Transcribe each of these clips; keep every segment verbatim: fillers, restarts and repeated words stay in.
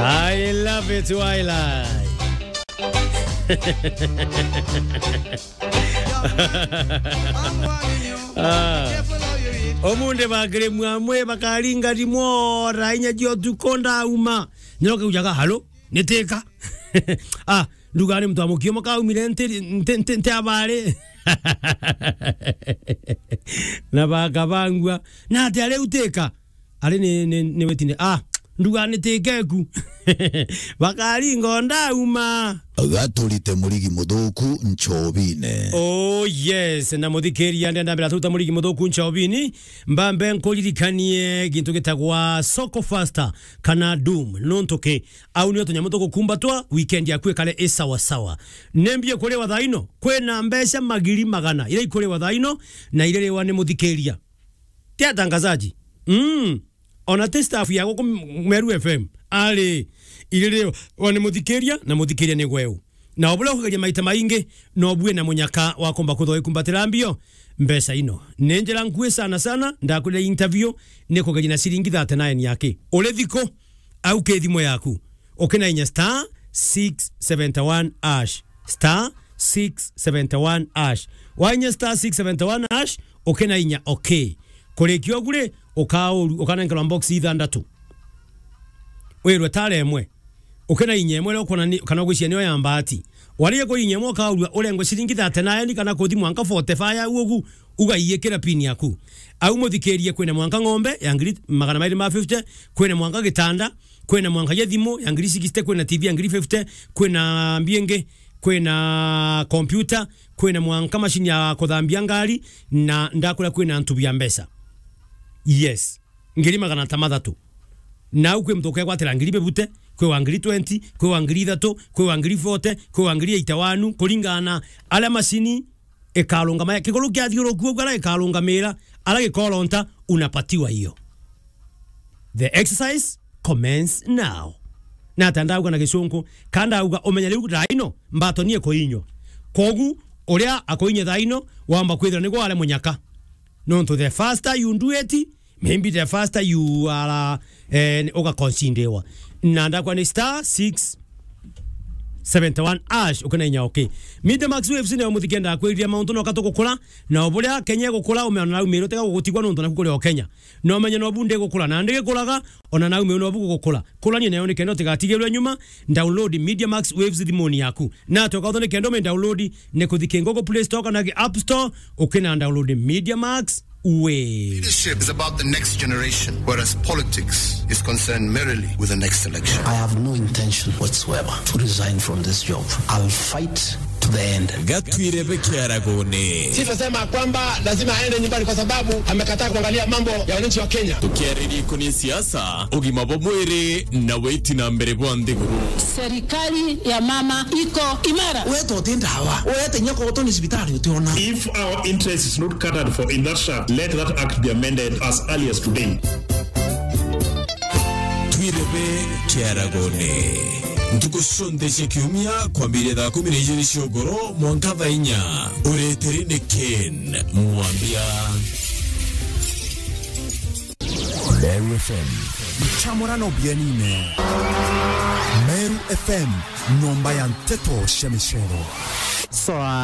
I love it, Twilight. Ah. Omunde bakiri mwamwe bakaringa rimwe ora inya cia utuku ndauma. Nyoke ujaga, "Halo, nitika." Ah, nduga ni mtu amukio makaumire nti, nti, nti, nti abari. Na bakabangua. Na ati ari utika. Ari ni, ni, ni wetine. Ah, nduga ni tikeku. Bakaringa ndauma. Gaturite murigi muthuku nchobine. Oh yes, na muthikiria ndenda mbira tuta murigi muthuku nchobini. Mbambe nkuririkanie gintu gitagwa Soko Faster kana Doom. Nontu ki, au nio tunyamu tugukumbatwa, weekend yaku ikare i sawa sawa. Nembie kuriwa thaino, kwina mbeca magiri magana iria ikuriwa thaino na iririwa ni muthikiria. Ti atangazaji. Mm. Ona ti staff ya guku Meru F M. Ari, iririwa ni muthikiria, na muthikiria ni gweu. Na o buria ukugeria maita maingi, no bue na munyaka wa kumba kuthoo ikumbatira mbio mbeca ino. Ni njira nkui sana sana, ndakwire interview, ni kugeria na ciringi thirty-nine yaki. Uri thiko, au ki thimu yaku. Ukina inya star six seventy one hash. Star six seventy one hash. Wainya star six seventy one hash, ukina inya okay. Kurikia ugu ri, ukauru-, ukanenkerwa box ithandatu. Wirwe tara imwe. Ukina inya imwe iria ukwona ni, kana ugwiciria niyo ya mbaati. Waria kuri inya imwe ukaurua urengwe ciringi thirty-nine kana kuthi mwanka forty-five au ugu, ugaiikira pin yaku. Au muthikirie, kwina mwanka ng'ombe ya ngiri magana mairi ma fifty, kwina mwanka gitanda, kwina mwanka ya thimu ya ngiri sixty, kwina T V ya ngiri fifty, kwina mbiengi, kwina kompyuta, kwina mwanka mashini ya kuthambia ngari, na ndakwira kwina ntubi ya mbeca. Yes. Ngiri magana ta mathatu. Nau kwi muntu ukegwatira ngiri bibute, kwi wa ngiri twenty, kwi wa ngiri ithatu, kwi wa ngiri forty, kwi wa ngiri eighty-one, kuringana na aria mashini ikarungama, kiguru kiathiuruku uguo aria ikarungamira, aria gikoronta, unapatiwa hiyo. The exercise commence now. Na ata ndauga na gicunku, ka ndauga umenya riu raino, mbatoni ikuinywa. Kogu, uria akuinya thaino, wamba kwithira niguo are munyaka. Nontu the faster you do it, maybe the faster you are, eh, ugaconsidewa. Na ndakwa ni star six seventy one hash, ukina inya okay. Media Max Waves ni muthikenda kwiriria mauntu no katugukura, na uburia Kenya igukura, umeona na umiro tega gugutigwa nontu naku kuri o Kenya. No menye no bunde gukura, na ndigikuraga, ona na umiro no bugukura. Kurania nayo ni kenda utigatigirwe nyuma, download Media Max Waves thimuni yaku. Na atoka utho ni kenda ume download ni kuthiki Google Play Store kana ki App Store, ukina download Media Max Waves. Leadership is about the next generation, whereas politics is concerned merely with the next election. I have no intention whatsoever to resign from this job. I'll fight to the end. Gatwire bekiaragone. Sisi tunasema kwamba lazima aende nyumbani kwa sababu amekataa kuangalia mambo ya wananchi wa Kenya. Tukiaririria ikoni siasa, ugima bwa mwiri na witi na mbere bwa nthiguru. Serikali ya mama iko imara. Weta uti ndawa, weta inya kotoni cibitari utiona. If our interest is not catered for in that shaft, let that act be amended as early as today. Twirebe kiaragone. Ntuku cionthe cia kiumia kwambiria thaa kumi na ijiri cia ugoro mwanka thaa inya. Ureteri ni Ken Mwambia. Meru F M. Chamurano bienine. Meru F M, nyomba ya nteto cia micero. Swafi.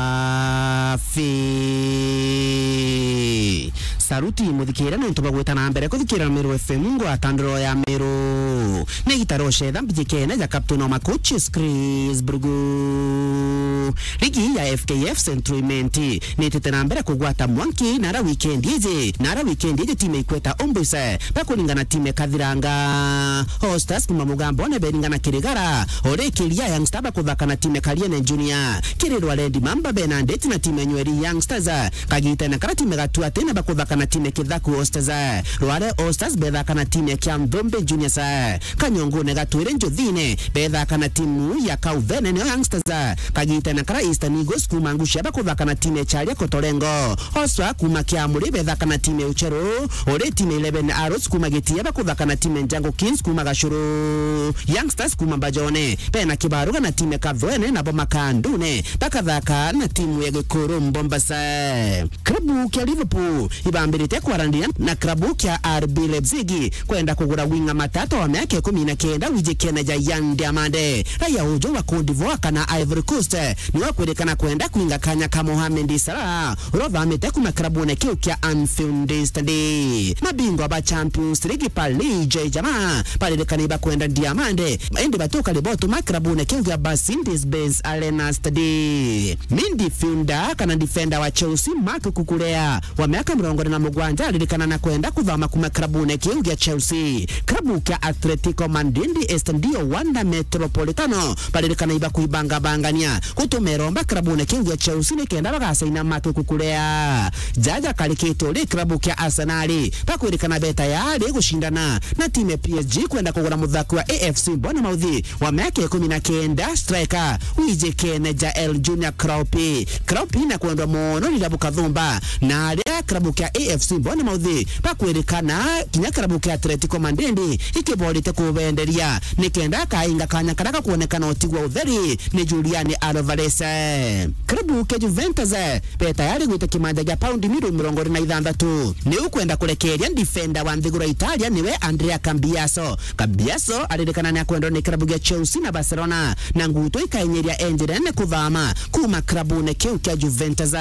Saruti muthikira nontu bagwita na mbere kuthikira Meru F M, ngwatandiro ya Meru. Ni gitaro cetha mbijikene ja captain wa macoaches Chris Brugu. Ligi ya F K F Central Imenti nitite na mbere kugwata mwanki nara weekend iji. Nara weekend iji timu ikweta Ombusa bakuringana timu ekathiranga. Hostas kuma Mugambone beringana Kirigara. Ori Kiria Youngster bakuthaka na timu Kariene Junior. Kirirwa Red Mamba bena ndeti na timu Nyweri Youngsters. Kagitene kara timu Gatuatene bakuthaka na timu Kithaku Hostas. Rware Hostas bethaka na timu kia Nthombe Juniors. Kanyongone Gatwire Njuthine bethaka na timu ya Kauvene nio Youngsters. Kagitene Na kara Eastern Eagles kuma Ngucia bakuthaka na timu ya Charia Kotorengo. Oswa kuma Kiamuri bethaka na timu ya Ucheru. Uri timu ya Eleven Arrows kuma Gitia bakuthaka na timu ya Njangu Kings kuma Gacuru. Youngsters kuma Mbajone bena kibaruga na timu ya Kathwene, nabo Makandune bakathaka na timu ya Gikuru Mombasa. Klabu kia Liverpool ibambirite kwarandiria na klabu kia R B Leipzig kwenda kugura winga matata wa miaka ikumi na kenda wijikene ja Yan Diomande, raia uju wa Cote d'Ivoire kana Ivory Coast, niwe kwirikana kwenda kwinga kanya ka Mohamed Salah uria uthamite kuma kirabune kiu kia Anfield Stadium. Mabingwa ba Champions League Paris Saint-Germain baririkana ibakwenda Diomande, indi batuka ribotuma kirabune kiu kia Mercedes-Benz Arena Stadium. Midfielder kana defender wa Chelsea Marc Cucurella wa miaka mirongo iri na mugwanja aririkana na kwenda kuthama kuma kirabune kiu gia Chelsea. Kirabu kia Atletico Madrid Estadio Wanda Metropolitano baririkana ibakuibangabangania gutuma iromba kirabune kiu gia Chelsea nikenda bagacaina Marc Cucurella. Jaja karikite uri kirabu kia Arsenal bakwirikana beta yari gucindana na timu ya P S G kwenda kugura muthaki wa A F C Bournemouth wa miaka ikumi na kenda, striker wijikene Jael Junior Kropi. Kropi na kwendwa mono ni irabu kathumba, na aria kirabu kia A F C Bournemouth bakwirikana kinya kirabu kia Atletico Madrid ikiborite kubenderia nikenda akainga kanya karia gakwonekana utigwa utheri ni Julian Alvarez. Kirabu kia Juventus be tayari gwita kimanja gia paundi milioni mirongo iri na ithanthatu. Ni ukwenda kurekeria defender wa nthiguru ya Italia niwe Andrea Cambiaso. Cambiaso aririkana ni akwendwa ni kirabu gia Chelsea na Barcelona, na nguto ikainyiria enjirene kuthama kuma kirabune kiu kia Juventus.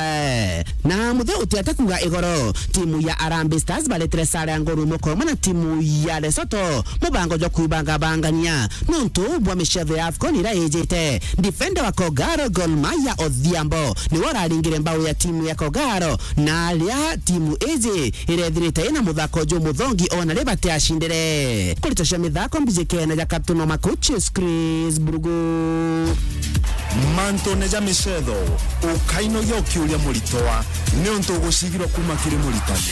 Na muthe utiate kuga igoro, timu ya Harambee Stars baretire sare ya nguru imwe kwa imwe na timu ya Lesotho, mubango jwa kwibangabangania nontu bwa micetho ya AFCON ira ijite. Defender wa Kogalo Gor Mahia Odhiambo niwe uraringire mbau ya timu ya Kogalo, na aria timu iji irethirite ina muthako jumuthongi ona ri batiacindire. Kurita cia mithako mbijikene ja Captain wa Makuchis Chris Burugu. Mantune ja micetho, ukainogia ukiuria muritwa, niuntu ugucigirwa kuma kiri muritani.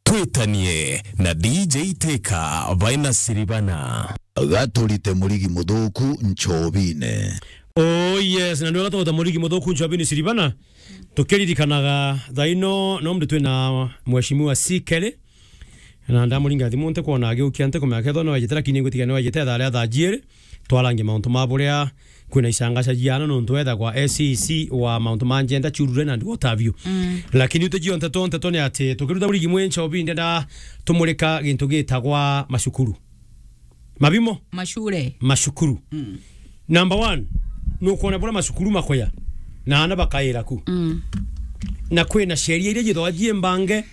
Twitanie na D J Teka baina Siribana. Gaturite murigi muthuku nchobine. Oh yes, na ndio gatugota murigi muthuku nchobine Siribana. Tukiririkanaga thaa ino no mndu twina Mheshimiwa C Kelly. Na ndamuringa thimu nte kwona agiukia nte kumenya kethwa no ejete, lakini ngwitikia no ejete thaa ria thaa jiiri. Twarangie mauntu ma buria kwina icangaca jiana nontu ethagwa S E C wa mauntu ma gender, children and what have you. Mm. Lakini utijio nteto, nteto ni ati tukiruta murigi mwi nchobi ndenda tumurika gintu gitagwa macukuru. Mabimo? Macure. Macukuru. Mm. Number one, nukwona buria macukuru makoya na ana bakaira ku. Mm. Na kwina sheria iria jithagwa jimbange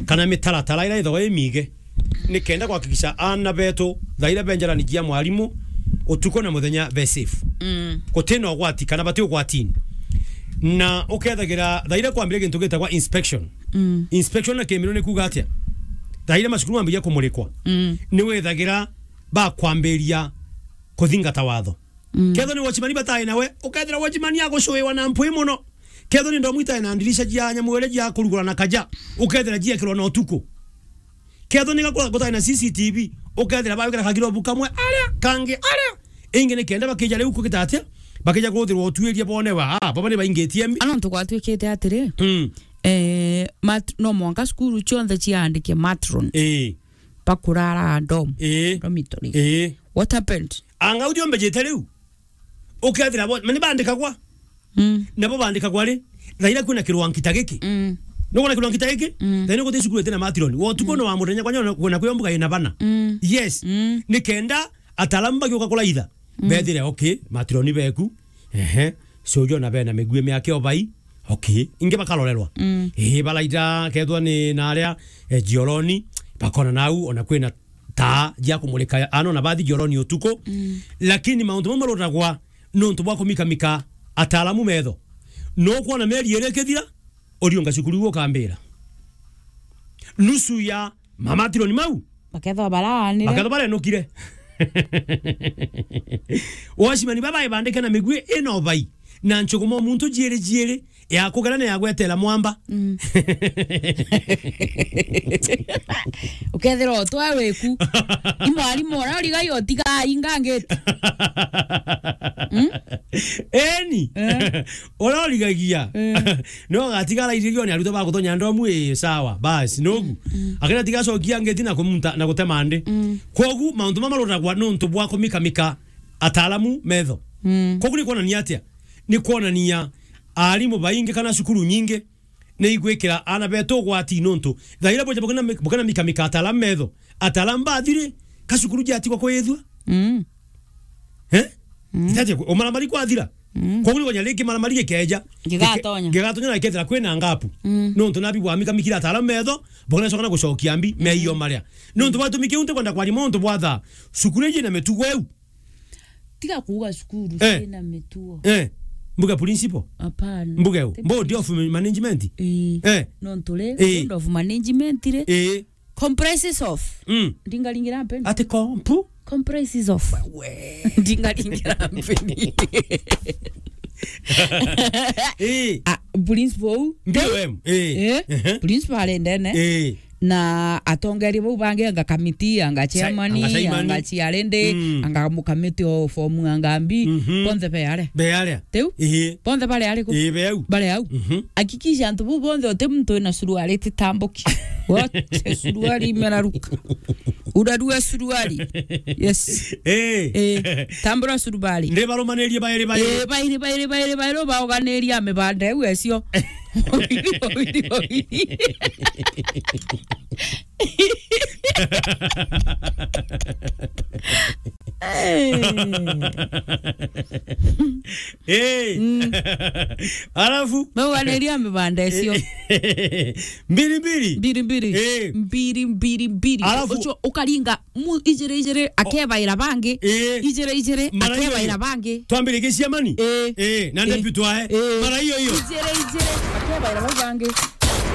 kana mitaratara ira ithagwa imige, nikenda kuhakikisha ana betu thaa iria benjarani jia mwarimu utuku na muthenya be safe. Mm. Gutina ugwati kana bati ugwatini. Na ukethagira thaa iria kwambire gintu gitagwa inspection. Mm. Inspection na Kimiru ni kuuga atia? Thaa iria macukuru mambiria kumurikwa, mm, ni wethagira bakwambiria kuthingata watho. Mm. Kethwa ni watchman batae nawe, ukethira watchman agucuiwa na mpwi mono. Kethwa ni ndomu itae na ndirisha jia nyamu iria jia kurugura na kaja, ukethira jiekirwa na utuku. Kethwa ni gakura gutae na C C T V, ukethira bagwikira kagirobu kamwe aria, kangi aria. Ingi ni kenda bakija riu kugita atia? Bakija kuruthirwa utuiria bone wa, ah, baba ni baingitie mbi. Ana ntu gwatuikite atiri, mm, eh, mat-, no mwanka cukuru cionthe ciandike matron. Ii. Bakurara dorm, ii, dormitory. Ii. What happened? Anga uthio mbejete riu? Ukethira bo, mani bandikagwa. Mm. Nabo bandikagwa ri? Thaa iria kwina kirwangita giki. Mm. Nukwona kirwangita giki? Mm. Thaa iria guti cukuru iti na matironi. Wa utuku, mm, no wa muthenya kwanya kwina kwio mbuga ina bana. Mm. Yes. Mm. Ni kenda ataalamu bagiuka kuraitha. Mm. Bethire, okay, matironi beku. Ehe. So jo na bena migui miake obai. Okay. Ingi bakarorerwa. Mm. Ii, baraitha kethwa ni na aria, eh, jioroni, bakona nau, ona kwina taa jia kumurika ano na bathi jioroni utuku. Mm. Lakini mauntu mau marutagwa nontu bwa kumikamika ataalamu metho. No kwona mieri iri ikithira, uriunga cukuru iu ukambira. Nusu ya mamatironi mau bakethwa baraanire. Bakethwa barenukire. Watchman baba ibandike na migui ino bai. Na nchuguma o muntu jiiri jiiri, ya kugera na ya gwetera mwamba. Mm. Ukethira utwa wiku. I mwarimu uria urigai utiga ingangiti. Mm? Eni. Eh. Uria urigagia. Eh. No ugatigara irigioni arutwo ba gutonya ndomu, ii, sawa. Basi, nogu. Mm. Akira tiga cokia ngeti na kumunta, na gutema ndi. Mm. Kogu, mauntu mama maroragwa nontu bwa kumikamika ataalamu metho. Mm. Kogu ni kuonania atia? Ni kuonania aarimu baingi kana cukuru nyingi ni igwikira aana betu ugwati nontu thaa iria bwete bukena, bukena mikamika ataalamu metho, ataalamu bathiri, ka cukuru jatigwa kwithua. Mm. Eh? Mm. Itaje ku-, umaramari kwathira. Mm. Koguo ni kwonania ringi maramari gikeja. Gigatonya. Gike-, gigatonya na gikethira kwina ngapu. Mm. Nontu nabi bwamikamikire ataalamu metho, bukena coka na gucokia mbi, mm, meio maria. Nontu bwatumi kiu ntikwenda kwaria mauntu bwa thaa. Cukuru iji na mitugo iu. Tiga kuuga cukuru, eh, ciina mitugo. Eh. Mbuge principal? Hapana. Mbuge u? Ti board of management? Ii. Eh. Nontu ri, eh, board of management ri, eh, comprises of. Mm. Ndingaringira mpeni. Ati kompu? Comprises of. We. Ndingaringira mpeni. Eh. Ah, principal u. B O M. Eh. Eh. Ehe. Principal ari ndene. Eh. Na atongeria bau bangi, anga kamiti, anga chairman, anga chairman, anga chiarindi, mm, anga mukamiti o fomu, anga mbi, mhm, bonthe be aria. Be aria. Tiu? Ii. Bonthe bari ariku? Ii, be au. Bari au. Mhm. Hakikisha antu bau bonthe uti muntu wina suruari titambuki. Wote suruari imeraruka. Urarua suruari. Yes. Ii. Ii. Tambura suruari. Ndi barumanirie bairi bairi. Ii, bairi, bairi, bairi, bairi, baoganiria mibanda iu ecio. Wawiri, wawiri, wawiri. Eh. Mm. Alafu? Bauganiria mibanda icio. Mbiri, mbiri. Mbiri, mbiri. Eh. Mbiri, mbiri, mbiri. Alafu? Ucio ukaringa mu-, ijiri, ijiri, akebaira bangi. Eh. Ijiri, ijiri, mara iyo akebaira iyo bangi. Twambiririe ciamani? Eh. Eh, na eh, deputy wae. Eh. Mara iyo iyo. Ijiri, ijiri, akebaira bau bangi.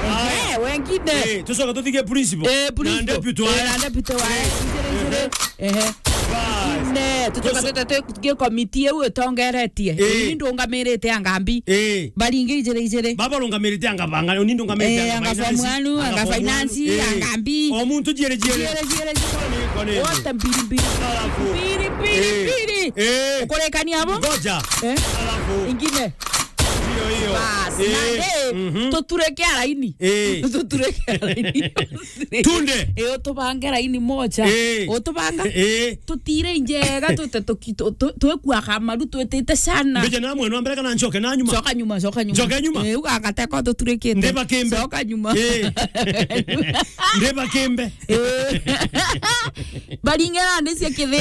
Aya. Eh, wengine. Eh, tucoka tuthige principal. Eh, na principal. Deputy wae. Eh, na deputy wae. Eh. Ijiri, ijiri. Ehe. Ehe. Bas. Ne, tucoka tucoka tuthige committee iu itongeretie. Eh. Ni ndungamirite anga mbi. Eh. Baringi ijiri, ijiri. Baba rungamirite anga banga, ni ndungamirite eh, anga finance, anga form one, anga finance, eh, anga mbi. O muntu jiere, jiere. Jiere, jiere, jiere. Kwani, kwani. Wote mbiri, mbiri. Alafu. Mbiri, mbiri, eh, mbiri. Eh. Ukurekania abo? Ngoja. Eh? Alafu. Ingine. Hiyo, hiyo. Bas, eh, na, eh, mhm, tutureke araini. Eh. Tutureke araini. Tunde. Eh, utubange raini moja. Eh. Utubanga. Eh. Tutire njega, tute tuki-, tu-, tu-, twekua kamaru, twetete sana. Mbije na mwena wa mbere kana ncoke na nyuma? Coka nyuma, coka nyuma. Ncoke nyuma? Eh, ugagateka tuturikite. Ndeba kimbe. Coka nyuma. Eh. Ndeba kimbe. Eh. Baringera ndisia kithi.